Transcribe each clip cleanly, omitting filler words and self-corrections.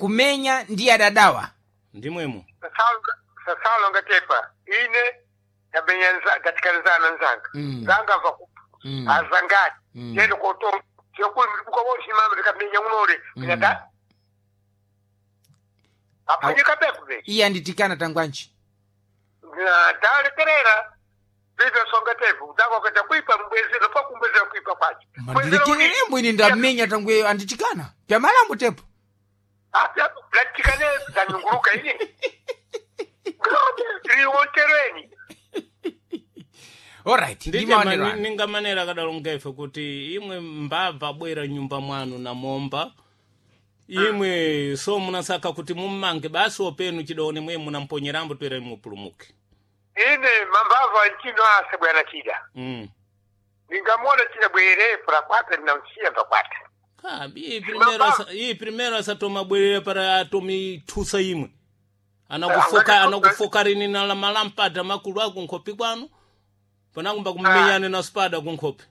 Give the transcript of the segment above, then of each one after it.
Akumenya ndi adadawa. Ndimwemo. Sasalo ngatepa ine ndamenya ndatikanizana nzanga. Nzanga va kupa. Azangati. Yendo koto chokuli mukawonshimama ndikamenya unole pinata. Apanyika pepu be. Iye anditikana tangwanji. Ndalekerera vivyo songa tepu ndakoketa kuipa mbwezero pakumbwezera kuipa kwacho. Mandilekerere mbwini ndamenya tangwe anditikana. Pyamalambo tepo. Latikane zanyunguruka ini. Liwontereni. Alright, Ndije ndimaonero anu. ninga manera akadalonga ife kuti imwe mbabva bwera nyumba mwanu namomba imwe so munasaka kuti mummange basi openu chidaone mwe munamponyerambo twere mupulumuke. Ine mambava nchino ase bwana chida. Ningamona chida bwere prakwata ninamsiya pakwata. Kabi iyi primero iyi primero asatomabwerera para atomithusa imwe anakufoka anakufoka rini na la malampata makulu ako nkhopi kwanu panakumba kumenyane na spada kunkhopi.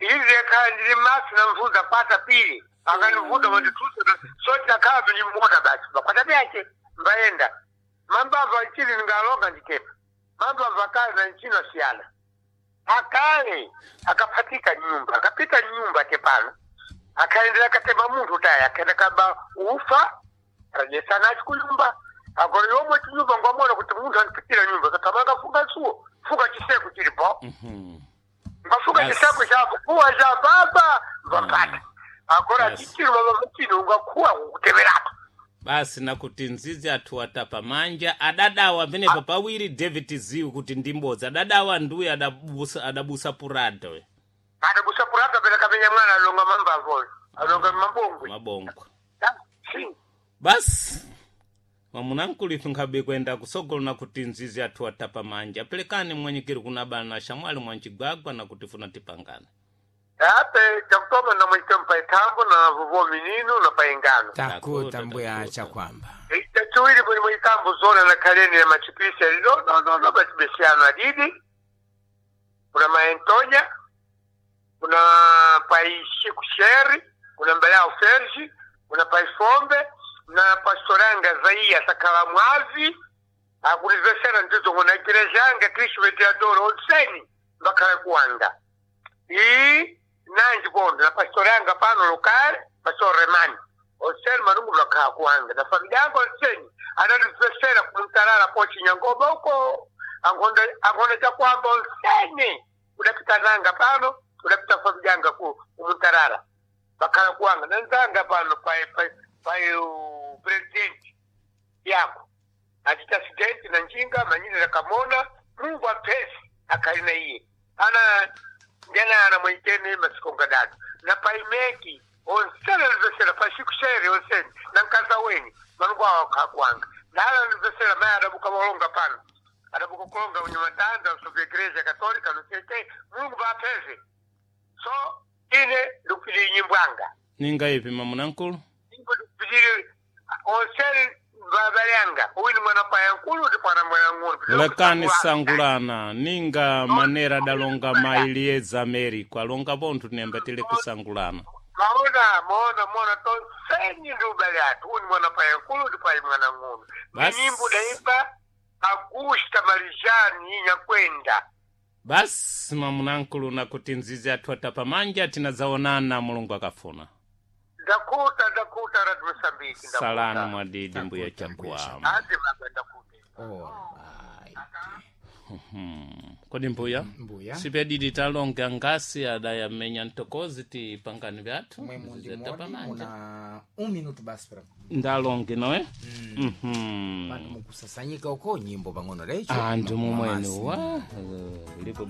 Izi yakhala ndili maso namvuza kwata pili akanivuta mandithusa so tinakhala tunimona basi pakwata pyache mbayenda mambava nchini ningalonga nditepa mambava akale na nchino asiyana akale akaphatika nyumba akapita nyumba tepano akaendera katema munthu taya akaenda kaba ufa rajesanachi kunyumba agora yomwe chinyumba ngwamona kuti munthu andipitira nyumba katamanga funga suwo funga chiseko chilipo. Ngafuka chiseko chapo kuwa cha baba vapata agora chichiro baba chino ungakuwa kukuteverapo. Basi nakuti nzizi athu atapa manja adadawa penepo pawiri David ziwi kuti ndimbodzi adadawa nduye adabusa, adabusa purada we. Adabusa purada pera kamenya mwana alonga mambavo alonga mabongwe. Mabongwe. Si. Basi mwamunankulife nkhabe kwenda kusogolo nakuti nzizi athu atapa manja pelekani mwanyikiri kuna bana shamwali mwanchigwagwa nakuti funa tipangane. Ape chakutoma na mwite mpaitambo na vuvo minino na paingano. Takuta mbuya chakwamba. Chachiwiri muli mwitambo zona na kaleni ya machipisi ali no no no no bachibesiano adidi. Kuna maentonya, kuna paishiku sheri, kuna mbalao ferji, kuna paifombe, na pastoranga zaia sakala mwazi. Akulizesera ndizo kuna igirejanga Kristu veteadoro otseni mbakhala kuwanga. Ii nanji bondo na pastoranga pano lokale pastor Remani oseni manungu lwakhala kuwanga na familia yangu oseni anatizesera kumtalala pochi nyangoba uko angonda angonda chakwamba oseni udapita nanga pano udapita familia yanga ku kumtalala bakhala kuwanga nanzanga pano pa pa pa president yako achita accident na njinga manyinira kamona Mungu apesi akalina iye ana ndena ana mwitene masikonga datu na paimeki onsene livesera pashikushere onsene na nkaza weni mangu awo kakwanga nala livesera maya adabuka malonga pano adabuka kulonga unyamatanda usovya igreja katolika nosete Mungu bapese so ine ndikupitiri nyimbwanga. Ninga ipi mamunankulu? Nyimbo ndikupitiri onsene babalanga uyu mwana payankulu ndi mwana mwana ng'ono. Lekani sangulana ninga manera adalonga mailieza Americo alonga pontho tinemba tili kusangulana. Maona maona maona tonsenyi ndi ubale athu uyu mwana payankulu ndi payi mwana ng'ono. Basi. Nyimbo daimba Augusta Marijani inyakwenda. Basi mamunankulu nakuti nzizi athu atapa manja tinazaonana Mulungu akafuna. Ndakuta ndakuta Radio Mozambique ndakuta. Salani mwadidi mbuya Ndakuta, mbuya chakwamba. Andi baba ndakuta. Alright. Kodi mbuya? Mbuya. Sipedidi talonga ngasi adayamenya ntokozi tipangani vyathu. Mwe mundi Nzizi atapa modi manja. muna un minuto basi para Ndalonge noe? Mhm. pano mukusasanyika uko nyimbo pang'ono lecho. Anthu mumwene Mamasi. wa liko.